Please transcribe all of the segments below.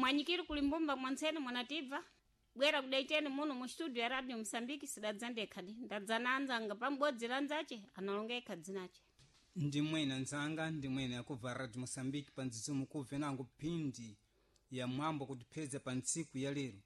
Mwanyikiri kulimbumba mwansene mwanatibva bwera kudaiteni muno mu studio ya Radio Msambiki. Sidadza ndekhadi, ndadza na anzanga pambodzi lanzache analonga ekha dzinache. Ndimwene nzanga, ndimwene akubva Radio Moçambique pandzidzimu kubve nango phindi ya mwambo kutipheza pa ntsiku ya lero.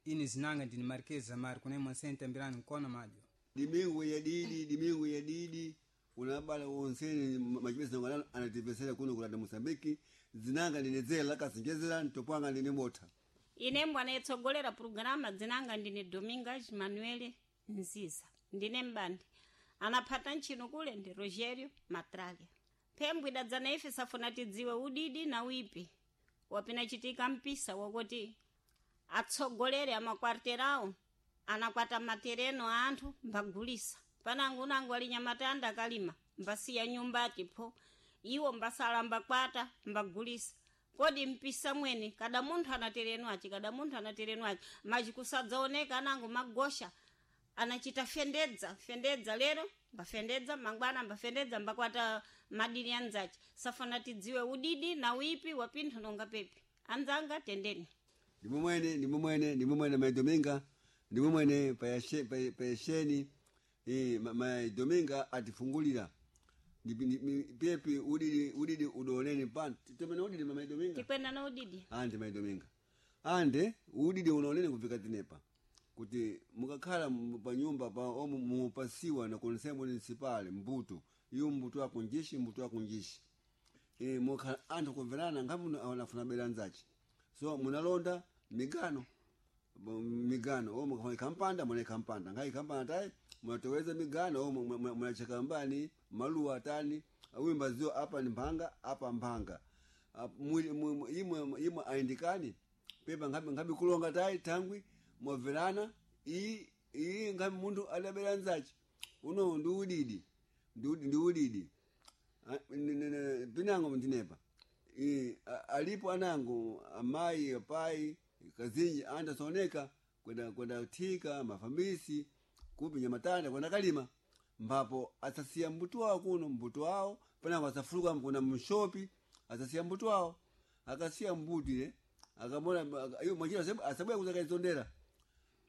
Ine zinanga ndini Marquez Amari kunaye mwansene tambirani nkona madyo. Dimingu ya didi, dimingu ya didi unabala wonsene machipesa ngana anatipesera kuno kulanda Mosambiki. Zinanga ndinedzera lakasinjezera ntopwanga ndine botha. Ine mbwana yetsogolera programa, dzinanga ndine Domingas Manuel Nziza, ndine mbandi anaphata ntchino kule ndi Rogerio Matralia. Phembwe idadzana ife safuna tidziwe udidi na wipi wapinachitika mpisa wakuti atsogolere amakwarterawo anakwata matereno a anthu mbagulisa panango unango alinyamatanda akalima mbasiya nyumba atipho iwo mbasala mbakwata mbagulisa. Kodi mpisa mwene kada munthu anatereno achi, kada munthu anatereno achi machi kusadzaoneka anango magosha anachita fendedza fendedza lero mbafendedza mangwana mbafendedza mbakwata madini anzachi. Safana tidziwe udidi na wipi wapinthu nonga pepi. Anzanga, tendeni. Ndimwe ndimwe ndimwe maidominga, ndimwe mwene payasheni maidominga atifungulira. Pepi udidi, udidi udoneni pano temene udidi maidominga. Tikwenda na udidi. Ande maidominga, ande udidi unaonene kufika tinepa kuti mukakhala panyumba pa omu mupasiwa na conseil municipal mbuto iyo mbuto ako njishi, mbuto ako njishi, mukhala anthu kumverana ngapi anafuna bela nzachi. So munalonda migano, migano o mukafuna kampanda mune kampanda ngai kampanda tai munatoweza migano o munacheka mbani maluwa tani wimba zio apa ni mphanga apa mphanga. Imwe imwe aindikani pepa ngapi ngapi kulonga tai tangwi mwabverana iyi iyi ngapi munthu adabera nzachi. Uno ndi udidi, ndi udidi. Pinango ndinepa alipo anango amayi apai kazinji andasooneka kwenda kwenda thika mafamisi kupi nyamatanda kwenda kalima mbapo asasiya mbuto wawo kuno mbuto wawo panango asafuluka kuna mshopi asasiya mbuto wawo akasiya mbuto ile akamona iyo mwachira asabwe kuzakaizondera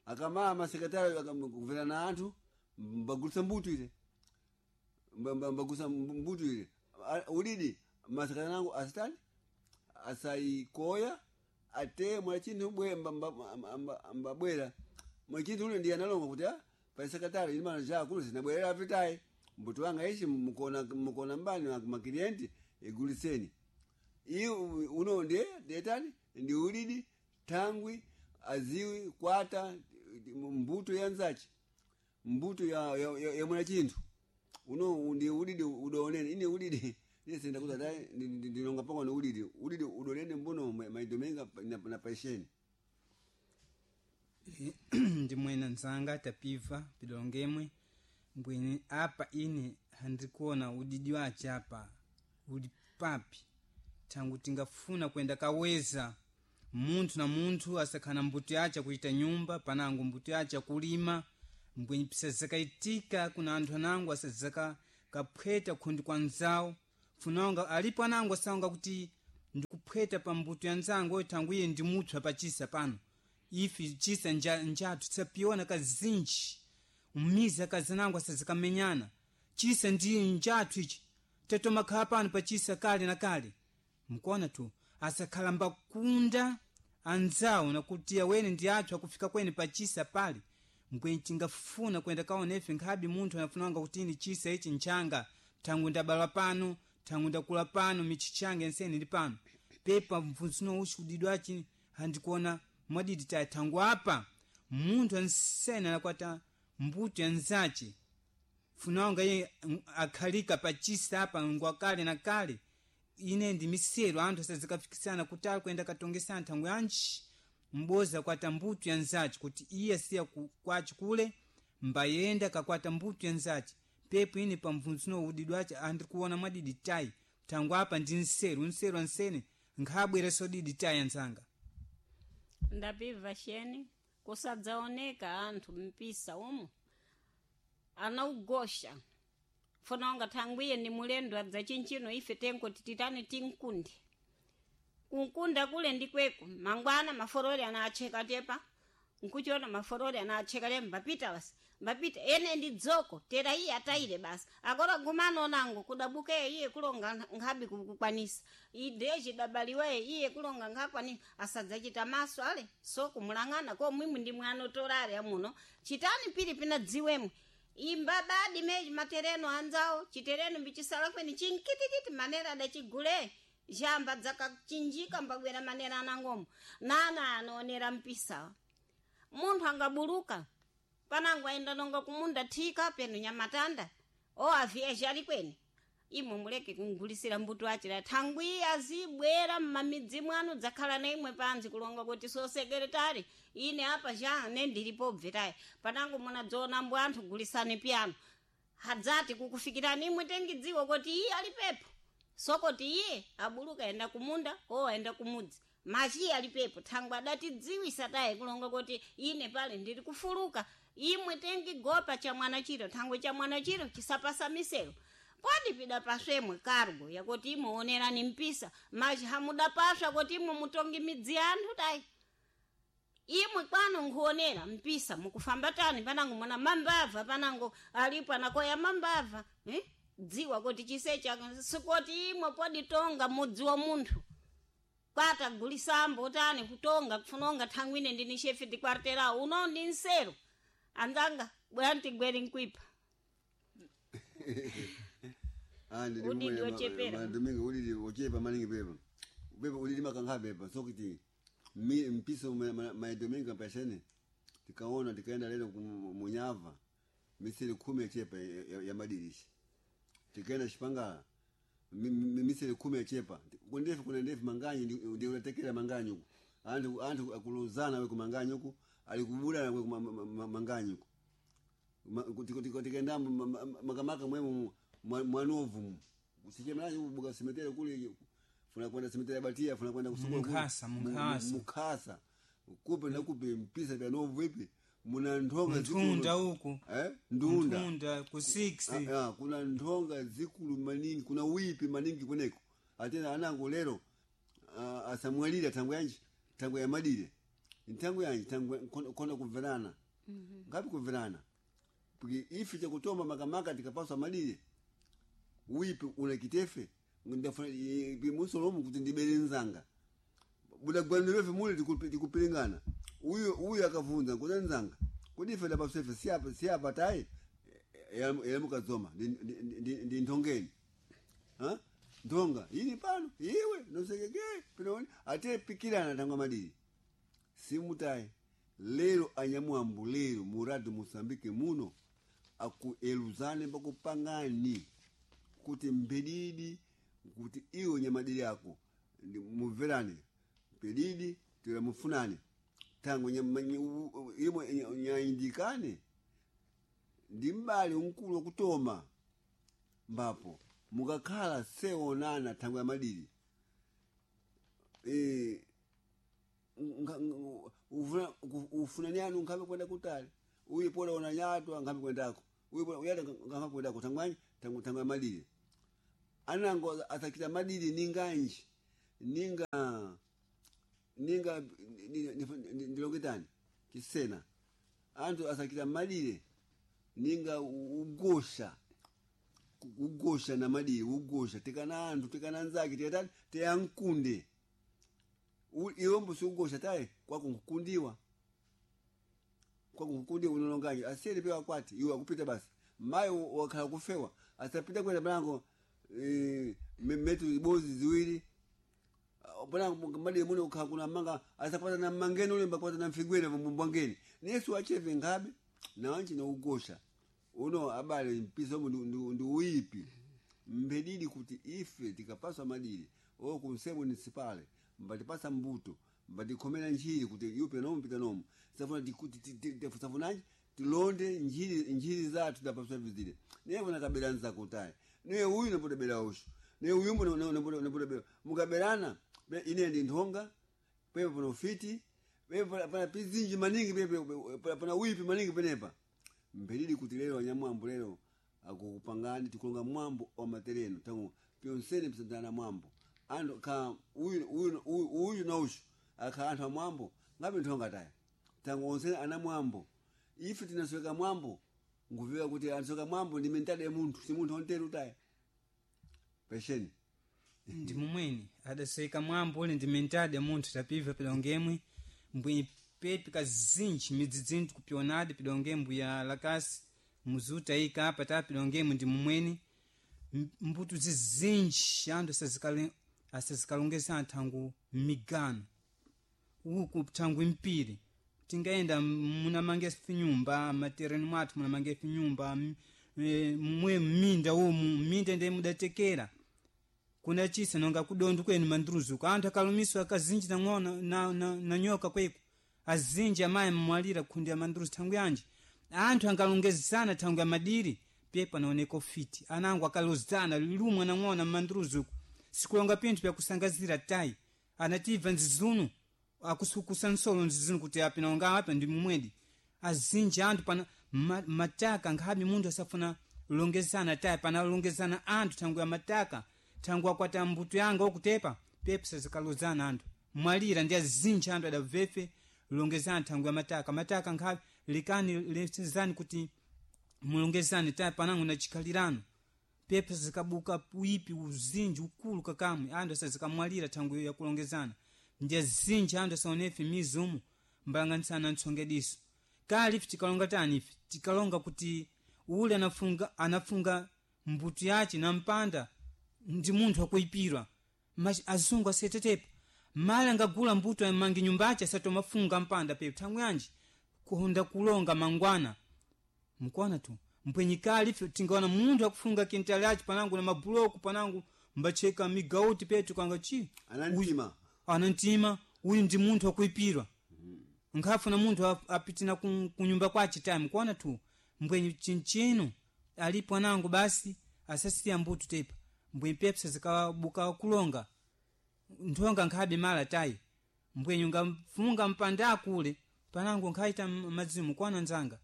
akamama sekretari akamvera na anthu mbagulisa mbuto ile mbagusa mbuto ile. Udidi masekretari nangu asitani asaikoya ate mwachinthu bwe mbabwera mwachinthu ule ndiye analonga kuti pa sekretari imana ja kuno sinabwerera apitayi mbuto wanga ichi mukona mukona mbani makilienti iguliseni iyi. Uno ndiye ndetani ndi udidi tangwi aziwi kwata mbuto ya nzachi mbuto ya mwana chinthu uno ndi udidi udonene ine udidi ine senda kuza dai ndinonga pango ni udidi, udidi udonene mbuno maidomenga na paisheni. Ndimwene nzanga tapiva pidongemwe mbwene apa ine handikuona udidi wache apa uli papi tangu tingafuna kwenda kaweza munthu na munthu asakhana mbuto yace kuita nyumba panango mbuto yace kulima mbwenye pisazakaitika kuna anthu anango asazaka kaphweta khundi kwa nzawo funonga alipo anango asaonga kuti ndikuphweta pa mbuto ya nzango oyo thangu iye ndimutswa pachisa pano ifi chisa njathu tisapiona kazinji umizi akazanango asazikamenyana chisa ndi njathu ichi tatomakhala pano pachisa kale na kale mkuona tu asakhala mbakunda anzawo nakuti awene ndi athu akufika kwene pachisa pali mbwenye tingafuna kwenda kaona ife nkhabe munthu anafunanga kuti ini chisa ichi nchanga thangu ndabala pano thangu ndakula pano michi change ensene ndi pano pepa mfunzino uchi udidwa achi handikuona mwadidi tayi thangu apa munthu ansene anakwata mbuto ya nzache funanga iye akhalika pachisa apa ngwa kale na kale ine ndi misero anthu asazikafikisana kutali kuyenda katongesana nthangu yanji mboza kwata mbuto ya nzachi kuti iye siya kwachi kule mbayenda kakwata mbuto ya nzachi pepo ine pamvunzuno udidwa achi andikuona mwadidi tayi thangu apa ndi nseru nseru ansene nkhabwereso didi tayi anzanga. Ndapibva sheni kusadzaoneka anthu mpisa umu anaugosha funa unga thangwiye ni mulendo adza chinchino ife tenko tititani tinkundi. Kunkunda kule ndikweko mangwana maforori anacheka tepa nkuchiona maforori anacheka te mbapita basi mbapita ene ndi dzoko tera iye ataire basi akora gumano nango kudabuke iye kulonga nkhabi kukwanisa ideji dabaliwe iye kulonga nkhakwani asadzachita maso ale so kumulang'ana ko mwimwe ndi mwana otorare amuno chitani pili pina dziwemwe imba badi meji matereno anzawo chitereno mbichisala kweni chinkitikiti manera adachigule jamba dzakachinjika mbagwera manera anangomo nana anoonera mpisa munthu angabuluka panango aenda nonga kumunda thika penu nyamatanda o aviyeje ali kweni imwe muleke kungulisira mbuto achira thangwi azibwera mmamidzi mwanu dzakhala na imwe panzi kulonga kuti so sekretari ine apa ja ne ndilipo bvetayi panango munadzoona mbu anthu gulisani piyano hadzati kukufikirani imwe tengidziwa kuti iye alipepo sokoti iye abuluka enda kumunda o aenda kumudzi machi alipepo thangwi adatidziwisa tayi kulonga kuti ine pale ndili kufuluka imwe tengigopa cha mwana chiro thangwi cha mwana chiro chisapasa misero podi pida paswemwe kargo yakuti imwe onerani mpisa machi hamudapaswa kuti imwe mutongi midzi yanthu tayi imwe kwano nkuonera mpisa mukufamba tani panango mwana mambava panango alipo anakoya mambava eh? Dziwa kuti chisecha sikoti imwe poditonga mudzi wa munthu kwata gulisambo tani kutonga kufunonga thangwine ndini chefe di quarteirão uno ndi nsero anzanga bwantigweri nkwipa Udidi wochepera. Domingo udidi wochepa maningi pepa pepa udidi makankha pepa sokuti mpiso ma domingo pashene tikaona tikaenda lero munyava misiri 10 yachepa ya madirishi tikaenda Xipangala misiri 10 yachepa kundefu kuna ndefu manganyi ndi unatekera manganyi uku anthu akuluzana we kumanganyi uku alikubulana we kumanganyi uku tikaenda makamaka mwemu mwanovu sichemanacho kubuka simetera kule funa kwenda simetera batia funa kwenda kusukula Munkhasa, Munkhasa. Mukhasa kupe na kupe mpisa vya novu ipi muna nthonga Mtunda uku. Ndunda Mtunda ku 6 Kuna nthonga zikulu maningi kuna wipi maningi kuneko atena anango lero asamwalira thango yanji thango ya madire nthango yanji thango kona kumverana ngapi kumverana Piki ife chakutoma makamaka tikapaswa madire wipi unakitefe ndafuna bimusolomu kuti ndibere nzanga budagwanirefe mule tikupilingana uyu akavunza kuda nzanga kuti ife dapasefe siapa siapa tayi yamukadzoma ndi nthongeni Ha? nthonga ili pano iwe nosekeke pinoni ate pikirana thangwa madiri simutayi lero anyamwambu lero muradi Mosambike muno akueluzane pakupangani kuti mbedidi kuti iwe nyamadiri ako mumverane pedidi tira mufunane tango imwe nyaindikane ndi mbali mkulu wakutoma mbapo mukakhala seonana thango ya madiri ufunani anu nkhabe kwenda kutali uyu pola ona nyatwa nkhabe kwendako uyu pola uyata nkhabe kwendako thangwanyi thango ya madiri anango asakita madiri ninganji ninga ninga ndiloketani kisena anthu asakita madire ninga ugosha ugosha na madire ugosha tikana anthu tikana nzake tikatani tiyankunde iwombo siugosha tayi kwako nkukundiwa kwako nkukundiwa unolongaje asiyeni pewa kwati iwe akupita basi mayi wakhala kufewa asapita kwenda mlango metu ibozi ziwiri bwana madire muno ukhala kuna manga asapata na mangeni ule mbapata na mfigwere mbwangeni nesu acheve ngabe nawanchi na ugosha uno abale mpisa umu ndi uipi mbedidi kuti ife tikapaswa madiri o kunsemo municipale mbatipasa mbuto mbatikhomera njiri kuti yupe nomu pita nomu safuna safunanji tilonde njiri njiri zathu tapaswa vizile niye funa kabela nzakutayi niye uyu napotebera ushu niye uyumbu napotebera mukaberana ine ndi nthonga pepe pano fiti pepe pana pizinji maningi pepe pana wipi maningi penepa mbelili kuti lero anyamwambo lero akukupangani tikulonga mwambo wa matereno tangu pyonsene msandana mwambo Anthu ka uyu uyu uyu na ushu akha anthu amwambo ngabe nthonga taya tangu onse ana mwambo ife tinasweka mwambo nguviwa kuti anasweka mwambo ndi mentali ya munthu si munthu onteru taya pesheni. Ndi mumweni adaseka mwambo ule ndi mentadi ya munthu tapibva pidongemwe mbwenyi pepi kazinji midzidzinthu kupionadi pidongemwe ya lakasi muzuta ika apa ta pidongemwe ndi mumweni mbuto zizinji anthu asazikalongeza anthangu migano uku thangu impiri tingayenda munamange finyumba matereni mwathu munamange finyumba mwe mminda umu mminda ndiye mudatekera kuna chisa nonga kudondo kwenu mandruzuko anthu akalumiswa akazinji nang'ona na nyoka kweku azinji amayi mmwalira khundi ya mandruzu thangu yanji anthu angalongezana thangu ya madiri pye panaoneka ufiti anango akalozana lumwa nang'ona mmandruzuko sikulonga pinthu pyakusangazira tayi anatibva nzizunu akusukusa nsolo nzizunu kuti apinaonga apa ndi mumwedi azinji anthu pana mataka nkhabe munthu asafuna longezana tayi panalongezana anthu thangu ya mataka thangu akwata mbuto yanga okutepa pepe sazikalozana anthu mwalira ndi azinji anthu adabvefe longezana thangu ya mataka mataka nkhabe likani lesezani kuti mulongezane tayi panango na chikhalirano pepe zikabuka uipi uzinji ukulu kakamwe anthu asazikamwalira thangu yakulongezana ndi azinji anthu asaonefe mizumu mbalanganisana ntsongediso kale ife tikalonga tani ife tikalonga kuti ule anafunga mbuto yace na mpanda ndi munthu akuipirwa azungu asetetepa mali angagula mbuto amange nyumbace asatomafunga mpanda pepe thangu yanji kuhonda kulonga mangwana mkuona tu mpwenyi kale ife tingaona munthu akufunga kintali yace panangu na mabuloku panangu mbacheka migauti petu kanga chi Anantima. Anantima uyu ndi munthu akuipirwa nkhafuna munthu apitina kunyumba kwace time kuona tu mbwenyi chinchino alipo anango basi asasiya mbuto tepa mbwenyi pepsa zikabuka kulonga nthonga nkhabe mala tayi mbwenyi ungafunga mpanda akule panango nkhaita mazimu kuona nzanga.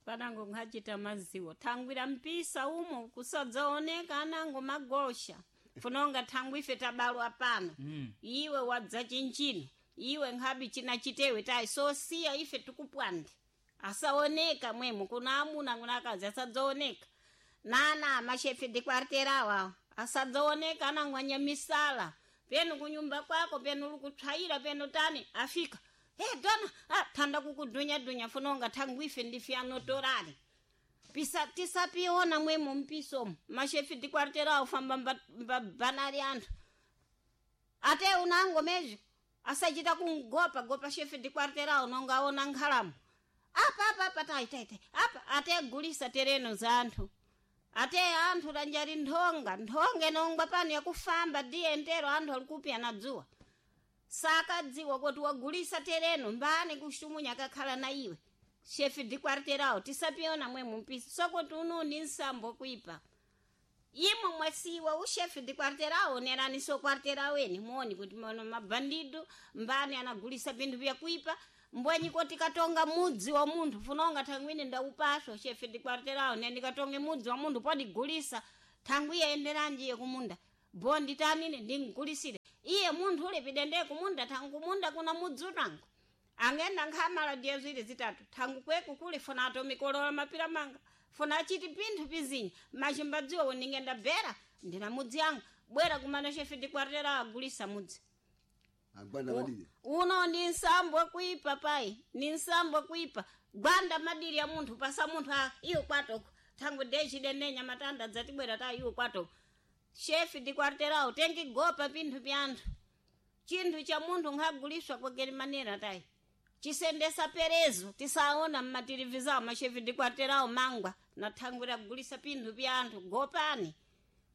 Panango nkhachita maziwo thangwira mpisa umo kusadzaoneka anango magosha funonga thangwi ife tabalwa pano. Iwe wadza chinchino iwe nkhabi china chitewe tayi sosiya ife tikupwande asaoneka mwemo kuna amuna kuna akazi asadzaoneka nana mashefe de quarteira awo asadzaoneka anango anyamisala penu kunyumba kwako penu likutswayira penu tani afika hey, dona thanda kukudunya-dunya funonga thangu ife ndife anotorale pisa tisapiona mwemo mpisomo mashefi dikwartera aufamba mbabanali anthu ate unango mezho asachita kungopa gopa shefi dikwartera unonga aona nkhalamo apa apa apa tai tai tai apa ate gulisa tereno za anthu ate anthu lanjali nthonga nthonga inongwa pano yakufamba diye ntero anthu alikupya dzuwa sakadziwa kuti wagulisa tereno mbani kuxitumunya akakhala na iwe shefi dikwarterawo tisapiona mwemo mpisa sokuti uno ndi nsambo kuipa imwe mwasiwa ushefi dikwarterawo nerani so kwartera weni muoni kuti mono mabandido mbani anagulisa pinthu vyakuipa mbwenyi koti katonga mudzi wa munthu funonga thangwine ndaupaswa shefi dikwarterawo ne ndikatonge mudzi wa munthu podigulisa thangwi iye iye kumunda bondi tanine ndingulisire iye munthu ule pidende kumunda thangu kumunda kuna mudzi utango angenda nkhamala diya ziwiri zitatu thangu kweku kuli funa atomikolola mapira manga funa achiti pinthu pizinyi machimbadziwa ndingenda bera ndina mudzi yanga bwera kumana shefe dikwartera agulisa mudzi. Agwanda madiri. Uno ndi nsambo kuipa pai ni nsambo kuipa gwanda madiri ya munthu pasa munthu a iyo kwatoko thangu dechidendenya matanda dzatibwera ta iyo kwatoko shefi dikwarterawo tengigopa pinthu pya anthu chinthu cha munthu nkhaguliswa kwageri manera tayi chisendesa perezo tisaona mmatelevizawo mashefi dikwarterawo mangwa nathangwira kugulisa pinthu pya anthu gopani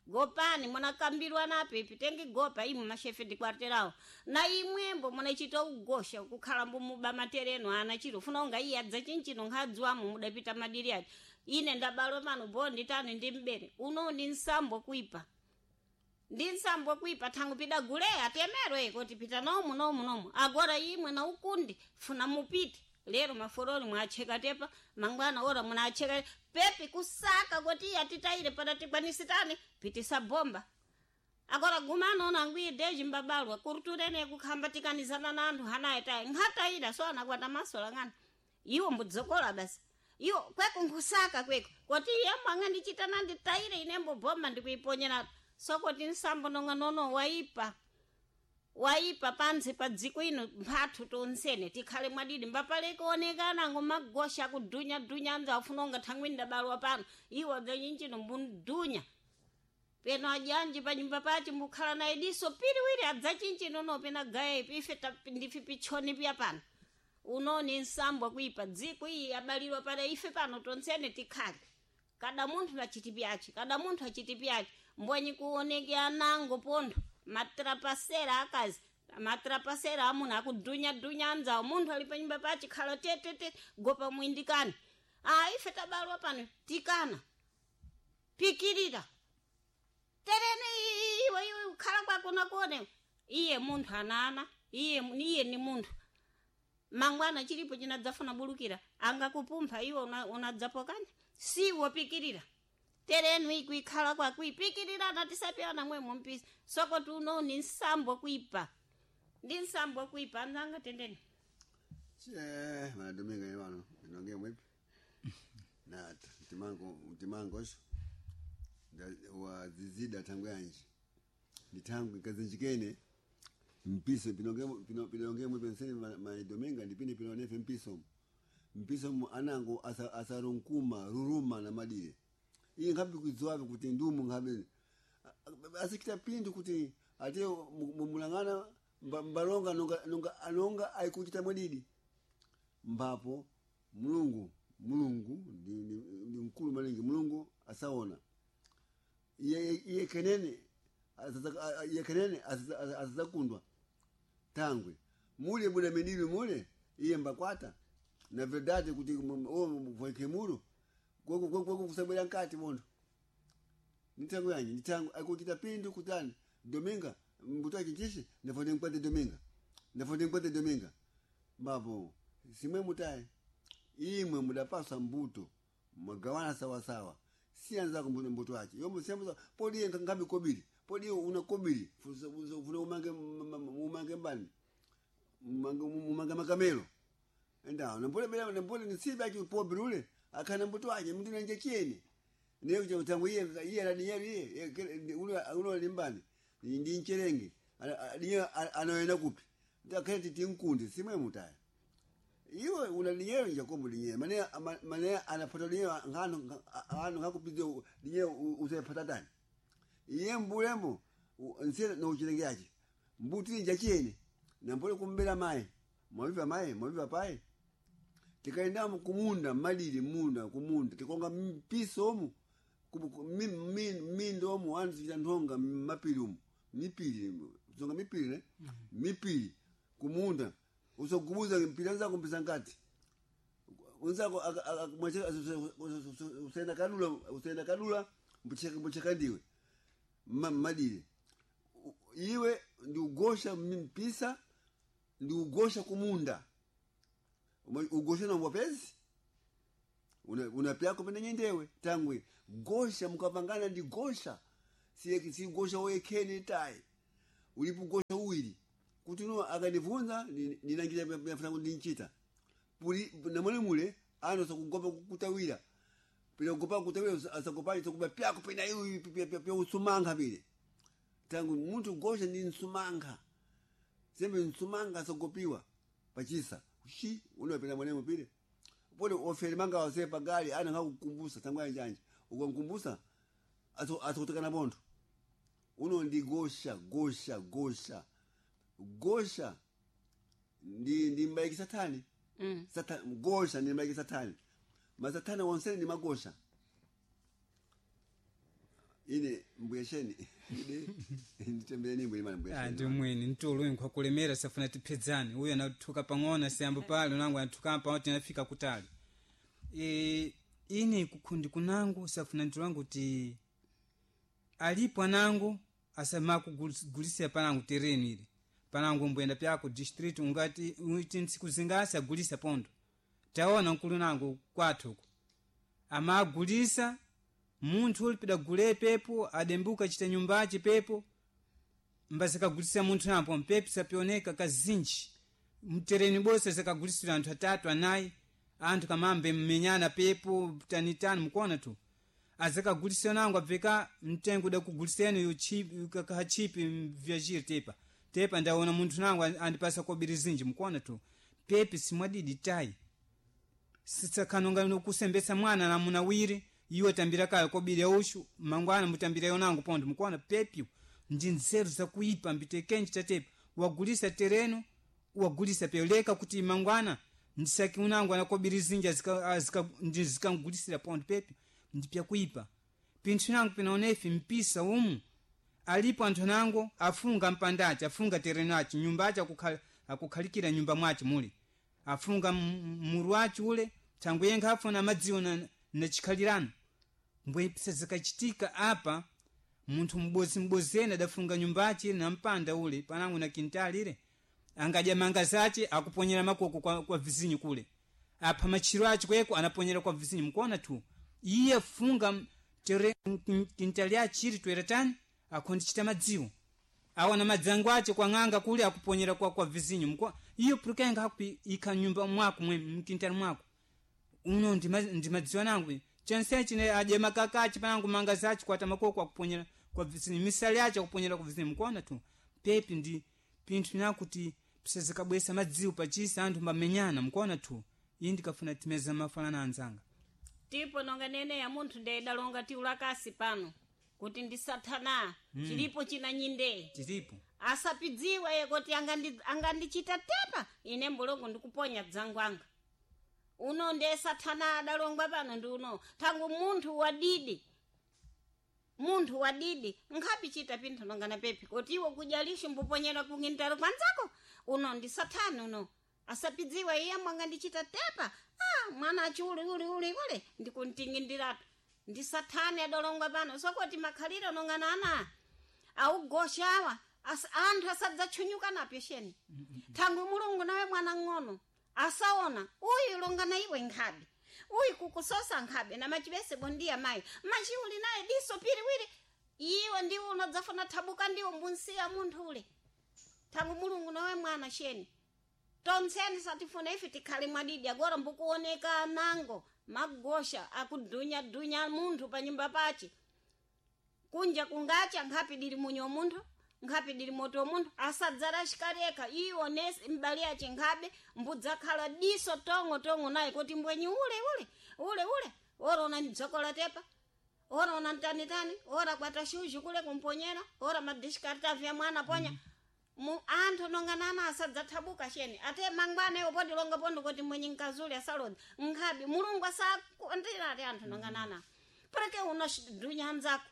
gopani munakambirwa napepi tengigopa imwe mashefe dikwarterawo na imwembo munachita ugosha kukhala mbumuba matereno ana chiro funa unga iye adza chinchino nkhadziwamo mudapita madiri ati ine ndabalwa pano bondi tani ndi mbere uno ndi nsambo kuipa ndi nsambo kuipa thangu pida guleya temero kuti pita nomu nomu nomu agora imwe na ukundi funa mupite lero maforoli mwacheka tepa mangwana ora munacheka pepi kusaka kuti iye atitayire pana tikwanisitani pitisa bomba. Agora gumano nangwi deji mbabalwa kuruturene kukhambatikanizana na anthu hanaye tayi nkhatayida so anakwata masola ng'ana iwo mbudzokola basi iwo kweko nkhusaka kweko koti yembo ang'andichita nanditayire inembo boma ndikuiponyera sokoti nsambo nonga nono waipa waipa pansi pa dziko ino mphathu tonsene tikhale mwadidi mbapale kuonekana ngomagosha akudunya-dunya anza afuna unga thangwini dabalwa pano iwo dzenyinjino mbundunya peno ajanji panyumba pachi mbukhala naye diso piriwiri adzachinjino no pena gaye ife ndife pichoni pya pano unoni nsambo kuipa dziko iyi abalirwa pada ife pano tonsene tikhale kada munthu achiti pyachi kada munthu achiti pyachi mbwenyi kuoneke anango pontho matrapasera akazi matrapasera amuna akudunya-dunya anzawo munthu ali panyumba pachi khala tetete gopa mwindikani a ife tabalwa pano tikana pikirira terene iwe iwe ukhala kwako nakuone iye munthu anana iye iye ni munthu mangwana chilipo chinadzafuna bulukira angakupumpha iwe unadzapokanya siwo pikirira terenu ikuikhala kwako ipikirirana tisapiyana mwe mumpisa sokoti uno ni nsambo kuipa ndi nsambo kuipa anzanga tendeni che manadominga iwano inonge mwipi nata mtimango mtimangosho wazizida tangu yanji nditangu ikazinjikene mpiso pinonge mwipi nsene maidominga ndipine pinonefe mpiso mpiso anango asarunkuma ruruma na madire iye nkhabe kudziwabe kuti ndumu nkhabe asikita pindu kuti ate mumulang'ana mbalonga nonga nonga anonga aikuchita mwadidi mbapo mulungu mulungu ndi, ndi, ndi mkulu malingi mulungu asaona iye iye kenene iye kenene asazakundwa tangwe mule muna menili mule iye mbakwata na verdade kuti voikemuro kweko kusabwera nkati montho nitango yanyi nitango akuchita pindu kutani dominga mbuto achinchishi ndafonde nkwate dominga ndafonde nkwate dominga mbapo simwe mutaye imwe mudapasa mbuto mwagawana sawasawa siyanzako mbuto mbuto achi yomwe siyambuza podi iye ngabe kobiri podi iye una kobiri funa umange umange mbani umange umange makamelo endawo nambole bela nambole nisibe achi pobiri ule akhana mbuto ache mndu nanje chiyeni niye kuja kutangu iye iye aladinyero iye ulo ulo limbani ndi ncherenge adinye anoenda kupi ndakhale titi nkunde simwe mutaya iwe una linyero njakombo linyero mane mane anapata linyero ngano ngano ngakupidze linyero usayipata tani iye mbulembo nse no chilenge ache mbuti nja chiyeni nambole kumbela mai mwaviva mai mwaviva pai tikaenda kumunda malili munda kumunda tikonga mpiso omu mindo omu antu tichita nthonga mapiri umu mipiri zonga mipiri ne mipiri kumunda usogubuza mpira nzako mpisa nkati unzako usenda kadula usenda kadula mbucheka ndiwe malile iwe ndiugosha mpisa ndiugosha kumunda ugosha na mwapezi unapyako pene nyendewe tangwe gosha mukapangana ndi gosha siye si gosha woyekhene tayi ulipo gosha uwiri kuti uno akanivunza ninangira yafuna kuti ndinchita puli namone mule ano sakugopa kutawira pila kugopa kutawira asagopa sakuba pyako pena iwi pya usumankha pile tangu munthu gosha ndi nsumankha sembe nsumankha asagopiwa pachisa shi unopena mwanemo pile pole ofere manga wase pagali ana ngakukumbusa tangu anjanje ukankumbusa asokutekana bontho uno ndi gosha gosha gosha gosha ndi ndi mbaiki satani Satan, gosha ndi mbaiki satani masatani wonsene ndi magosha ine mbuyesheni nditembere nimbo imana Ah, mbuyesheni ndi mwini mtulo uyu nkwakulemera safuna tiphedzane uyu anathuka pang'ono siyambo pale unangu anathuka pang'ono tinafika kutali e, ine kukhundi kunangu safuna ntilangu ti alipo anangu asamakugulisira panangu tereno ile panangu mbuyenda pyako district ungati uti ntsiku zingasi agulisa pondo taona nkulu nangu kwathu uku amagulisa munthu uli pidagule pepo adembuka chita nyumbachi pepo Mbazikagulisa munthu nampo mpepi sapioneka kazinji mtereni bose zikagulisira anthu atatu anayi anthu kamambe mmenyana pepo tanitani mukuona tu azikagulisa nango abveka mtengo udakuguliseni kachipi vyajiri tepa tepa ndaona munthu nango andipasa kobiri zinji mukuona tu pepi simwadidi tayi sitsakanonga kusembesa mwana namuna wiri iwe tambira kayo kobiri yaushu mangwana mutambira yonango pondo mukuona pepi ndi nzeru zakuipa mbitekenji tatepa wagulisa tereno wagulisa peleka kuti mangwana ndisaki unango anakobiri zinji ndizikangulisira pondo pepi ndipyakuipa pinthu nango pinaonefi mpisa umu alipo anthu nango afunga mpandaci afunga tereno aci nyumba aci akukhalikira nyumba mwaci muli afunga muru waci ule thangwe yenkha afuna amadziwo na chikhalirano mbwe zikachitika apa munthu m'bozi m'bozene adafunga nyumbaci na mpanda ule panango na kintali ile angadya manga zace akuponyera makoko kwa vizinyu kule apha machiro aci kweko anaponyera kwa vizinyu mukuona tu iye funga tere kintali achiri twera tani akhondichita madziwo awana madzango ace kwa ng'anga kule akuponyera kwa vizinyu mko iyo pulukenga hakupi ikha nyumba mwako mwe mkintali mwako uno ndi madziwo nangu chensechi ne adye makaka aci panangu manga zace kwata makoko akuponyera kwa vizinyu misali ace akuponyera kwa vizinyu mukuona tu pepi ndi pinthu nakuti pisazikabwesa madziwo pachisa anthu mbamenyana mukuona tu iyi ndikafuna timeza mafanana anzanga tipo nonga nene ya munthu ndeyidalonga tiulakasi pano kuti ndisathana chilipo china nyinde chilipo asapidziwa ye kuti angandichita tepa ine mbulongo ndikuponya dzangu anga uno ndiye sathana adalongwa pano ndi uno thangu munthu wadidi munthu wadidi nkhapi chita pinthu nongana pepi kuti iwo kudya lixo mbuponyera kungintalo kwanzako uno ndi sathana uno asapidziwa iye mwangandichita tepa ah, mwana achi uli uli uli ule ndikuntingindiratu ndi sathane adalongwa pano sokoti makhaliro nongana ana augosha awa anthu asadzatchunyuka napyo sheni thangwi mulungu nawe mwana ng'ono asaona uyu longana iwe nkhabe uyu kukusosa nkhabe na machibese bondiya mayi machiuli naye diso piriwiri iwe ndiwe unadzafuna thabuka ndiwo mbunsiya munthu ule thangwi mulungu nawe mwana sheni tontseni satifuna ife tikhale mwadidi agora mbukuoneka nango magosha akudunyadunya munthu pa nyumba pace kunja kungacha nkhapi dili munyo munthu nkhapi dili moto munthu asadzala xikaleka iwo nesi mbali yace nkhabe mbudzakhala diso tong'o tong'o naye kuti mbwenyi ule ule ule ule ora una dzokola tepa ora una mtanitani ora kwata shuju kule kumponyera ora madishikaritavi ya mwana ponya mu anthu nonganana asadzathabuka sheni ate mangwana iwo podilonga pondo kuti mwenye nkazuli asalodza nkhabe mulungu asakondera anthu nonganana parake una dunya anzako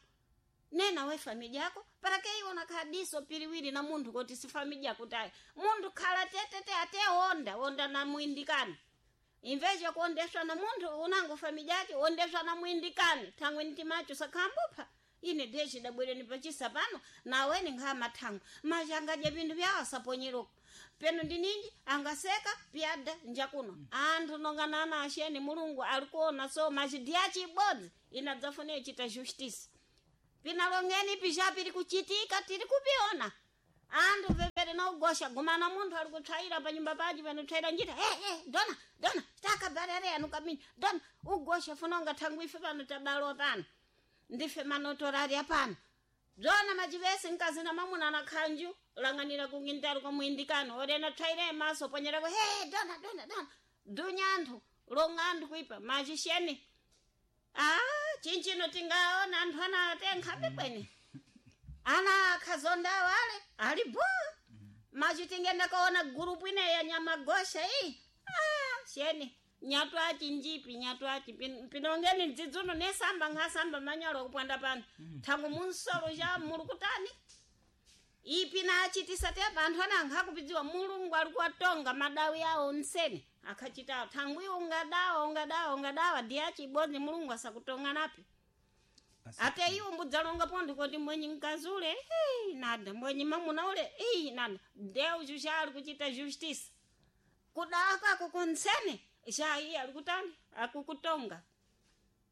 nena we famili yako parake iwo nakhadiso piriwiri na munthu kuti si famili yako tayi munthu khala tetete ate onda onda na muindikani imveje kuondeswa na munthu unango famili yake ondeswa na muindikani thangwe ntimacho sakhambupha ine deshi dabwereni pachisa pano naweni nkha thango machangadya pinthu vyawo asaponyeroko peno ndininji angaseka pyada njakuno anthu nonganana asheni mulungu alikuona so machidiya chibodzi inadzafune chita justice pinalongeni pisha pili kuchitika tili kupiona anthu vevere naugosha gumana munthu ali kutsvaira panyumba pace panotsaira njira hey, hey, dona dona takabarere anu kabini dona ugosha funonga thangu ife pano tabalowa pano ndife manotorari apano bzona machivese mkazi na mamuna na khanju lang'anira kungintalo kwa muindikano orena tsvaire maso ponyerako he dona dona dona dunya anthu longa anthu kuipa machisheni ah chinchino tingaona anthu ana atenkhabe kwene ana akhazondawo ale ali bo machi tingenda kaona gurupu ineya nyamagosha iyi ah sheni nyatu achi njipi nyatu achi pinongeni dzidzuno nesamba nkhasamba manyalo kupwanda pano thangu munsolo cha muli kutani ipi nachitisa tepa anthu ana ankhakupidziwa mulungu ali kuwatonga madawi awo nsene akhachitawo thangu iwo ungadawa ungadawa ungadawa diyachi ibodzi mulungu asakutonga napi ate iwo mbudzalonga pontho kuti mwenye mkazi ule hei nada mwenye mamuna ule ii nada deus xa ali kuchita justice kudaka kunsene xa iye ali kutani akukutonga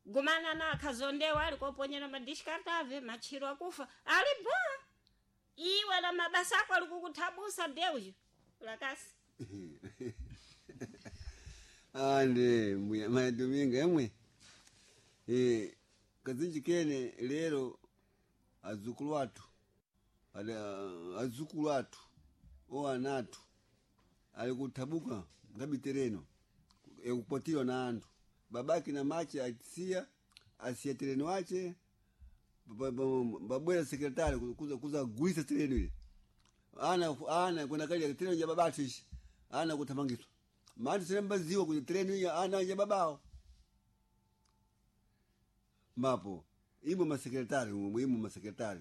gumana na akhazondewa ali koponyera madishikartave matchiro akufa ali bwa Iwe na mabasa ako alikukuthabusa ndeuyo lakasi. Ande mbuya madominga emwe kazinji kene lero azukulu athu azukulu athu o anathu ali kuthabuka ngabi tereno ekupotiwa na anthu babaki na mache atisiya asiya tereno ache babwera sekretari kuza gulisa tereno ile ana ana kwenda kali tereno ya babatu ishi ana kuthamangiswa manthu sene mbaziwa kuti tereno iya ana ya babao mapo imwe masekretari imwe masekretari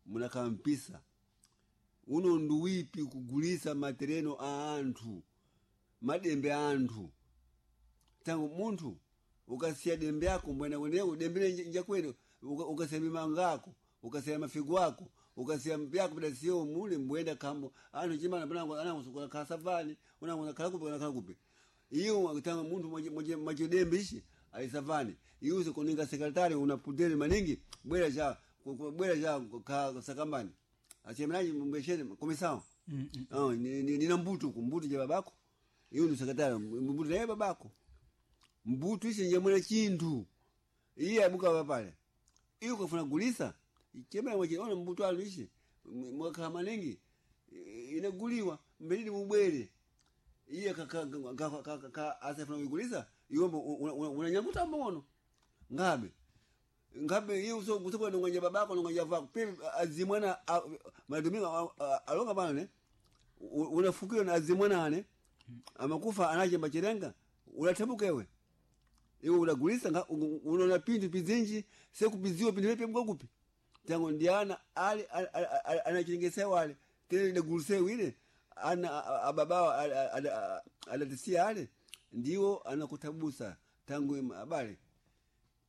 munakampisa uno nduwipi kugulisa matereno a anthu madembe a anthu tangu munthu ukasiya dembe yako mbwena kweneyo dembe njakwene ukasiya mimanga ako ukasiya mafigo ako ukasiya mpyako pidasiyo mule mbwenda kambo anthu chimana panango anango khala unango khala kupi khala kupi iyo tangu munthu mwachidembe ichi alisavani iwe kuninga sekretari una pudere maningi bwera cha bwera cha ka sakambani achemnaji mbweshene komisao oh nina mbutu ku mbutu je babako iwe ni sekretari mbutu naye babako mbutu ichi nje mwana chinthu iye abuka papale iwe ukafuna gulisa chemera mwachi ona mbutu alu ichi mwakhala maningi inaguliwa mbelili mubwere iye ka asafuna kuigulisa iwe unanyamuta mbono ngabe ngabe iye uso kusokwa nonganja babako nonganja vako pe azimwana maduminga alonga bana ne unafukiwa na azimwana ane amakufa anache machirenga unathabuka ewe iwe unagulisa unaona pintu pizinji sekupiziwa pintu pepe mkakupi tango ndiana ali anachengesewa ale tena inagulisewa ile ana ababawa adatisia ale ndiwo anakutabusa tangu abale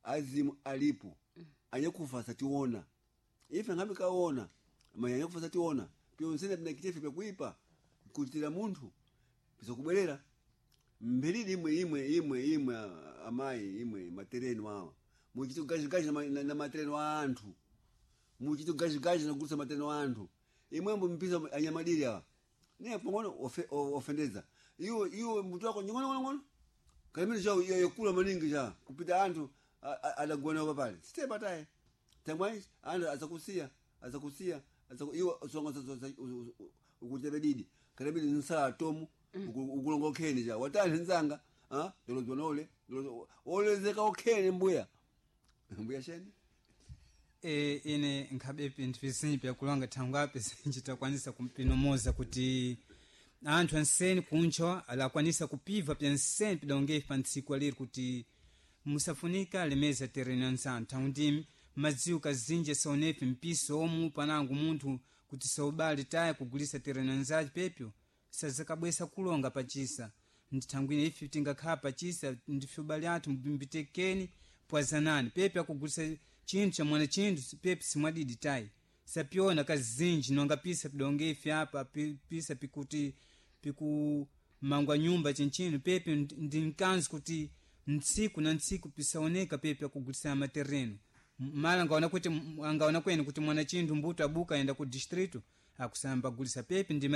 azimu alipo anyakufa sationa ife ngabe kaona manya anyakufa sationa pyonsene pinakitefe pyakuipa kutira munthu pisakubwerera mbelili imwe imwe imwe imwe amayi imwe matereno awa muchito gajigaji na, na matereno a anthu muchito gajigaji nagulisa matereno a anthu imwembo mpisa anyamadiri awa niye pang'ono ofendeza iwo iwo mbuto wako nyong'ono kalimene cha yakula maningi cha kupita anthu adagona papale sitepa taye tangwai anthu azakusiya azakusiya iwo songa ukuchita didi kalimene nsala tomu ukulonga okhene cha watani nzanga ah ndolozwa nole olezeka okhene mbuya mbuya sheni. Ine nkhabe pinthu vizinji pyakulonga thangwi ape sinjitakwanisa kumpinomoza kuti anthu anseni kuncho alakwanisa kupiva pyanseni pidongepi pa ntsiku aliri kuti musafunika lemeza tereno anzanu thangwi ndi madziwo kazinji asaonepi mpiso omu panango munthu kuti saubale taya kugulisa tereno anzace pepyo sazakabwesa kulonga pachisa ndithangwine ife tingakhala pachisa ndife ubale athu mbimbitekeni pwazanani pepe akugulisa chinthu chamwana chinthu pepe simwadidi tayi sapyona kazinji nonga pisa pidonge ife apa pisa pikuti pikumangwa nyumba chinchino pepe ndi mkanzi kuti ntsiku na ntsiku pisaoneka pepe akugulisa matereno mala angaona kuti angaona kwene kuti mwana chinthu mbuto abuka ayenda ku distrito akusamba gulisa pepe ndi.